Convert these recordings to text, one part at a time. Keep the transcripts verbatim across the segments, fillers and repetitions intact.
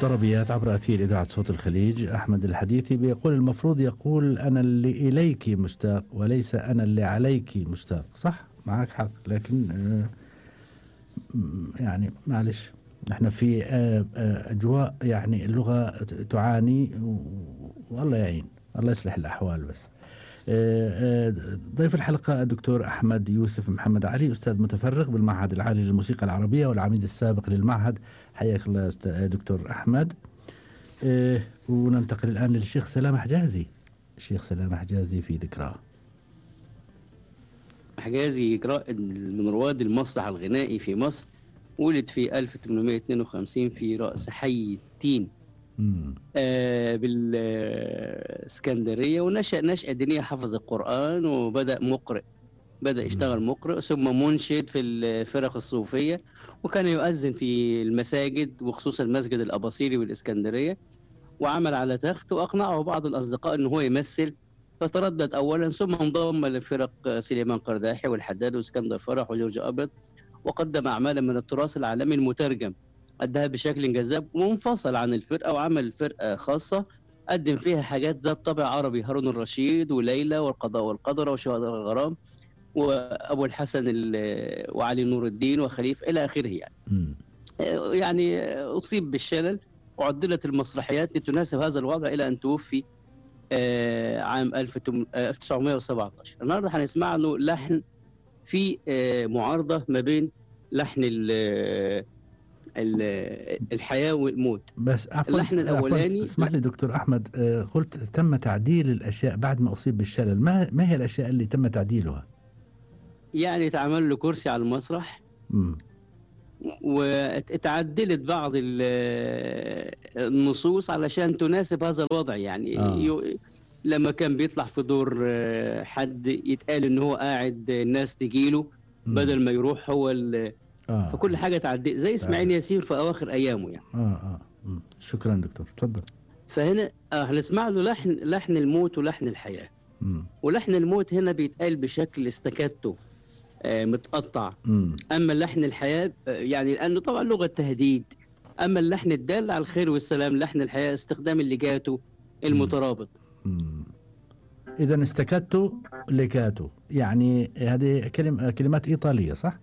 طربيات عبر أثير إذاعة صوت الخليج. أحمد الحديثي بيقول المفروض يقول أنا اللي إليك مشتاق وليس أنا اللي عليك مشتاق. صح، معك حق، لكن آه، يعني معلش احنا في آه، آه، أجواء يعني اللغة تعاني، والله يعين، الله يصلح الأحوال. بس آه، آه، ضيف الحلقة الدكتور أحمد يوسف محمد علي، أستاذ متفرغ بالمعهد العالي للموسيقى العربية والعميد السابق للمعهد. حياك الله دكتور أحمد. آه، وننتقل الآن للشيخ سلام حجازي. الشيخ سلام حجازي في ذكراه. حجازي رائد من رواد المسرح الغنائي في مصر، ولد في ألف وثمانمائة واثنين وخمسين في رأس حي التين آه بالإسكندرية، ونشأ نشأة دينية، حفظ القرآن وبدأ مقرئ، بدأ يشتغل مقرئ ثم منشد في الفرق الصوفية، وكان يؤذن في المساجد وخصوصا المسجد الأباصيري بالإسكندرية، وعمل على تخت وأقنعه بعض الأصدقاء أنه هو يمثل، فتردد أولا ثم انضم لفرق سليمان قرداحي والحداد واسكندر فرح وجورج أبيض، وقدم أعمالا من التراث العالمي المترجم أداها بشكل جذاب، وانفصل عن الفرقة وعمل فرقة خاصة قدم فيها حاجات ذات طابع عربي، هارون الرشيد وليلى والقضاء والقدر وشهداء الغرام وأبو الحسن وعلي نور الدين وخليف إلى آخره. يعني يعني أصيب بالشلل وعدلت المسرحيات لتناسب هذا الوضع إلى أن توفي عام ألف وتسعمائة وسبعة عشر. النهارده هنسمع له لحن في معارضة ما بين لحن الحياة والموت. بس عفوا اللحن الأولاني، اسمح لي دكتور أحمد، قلت تم تعديل الأشياء بعد ما أصيب بالشلل، ما ما هي الأشياء اللي تم تعديلها؟ يعني تعمل له كرسي على المسرح، م. وتعدلت بعض النصوص علشان تناسب هذا الوضع. يعني آه. لما كان بيطلع في دور حد يتقال ان هو قاعد الناس تجيله بدل ما يروح هو آه. فكل حاجة تعدل زي اسماعيل ياسين في أواخر أيامه يعني. آه آه. م. شكرا دكتور، تفضل. فهنا آه هنسمع له لحن لحن الموت ولحن الحياة. م. ولحن الموت هنا بيتقال بشكل استكاتو آه متقطع. م. أما اللحن الحياة آه يعني لأنه طبعا لغة تهديد. أما اللحن الدال على الخير والسلام لحن الحياة استخدام الليجاتو المترابط. إذا استكاتو ليجاتو، يعني هذه كلمة كلمات إيطالية صح؟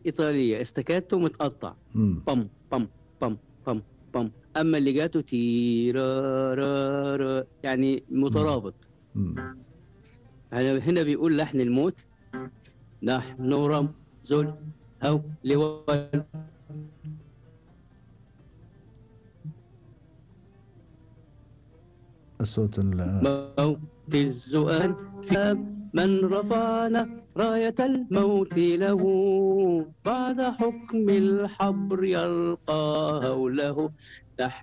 إيطالية، استكاتو متقطع بم بم بم بم بم. أما الليجاتو تيرارارا يعني مترابط. مم. هنا بيقول لحن الموت: نحن رمز الهول الصوت موت الزؤان في من رفعنا راية الموت له بعد حكم الحبر يلقى هوله.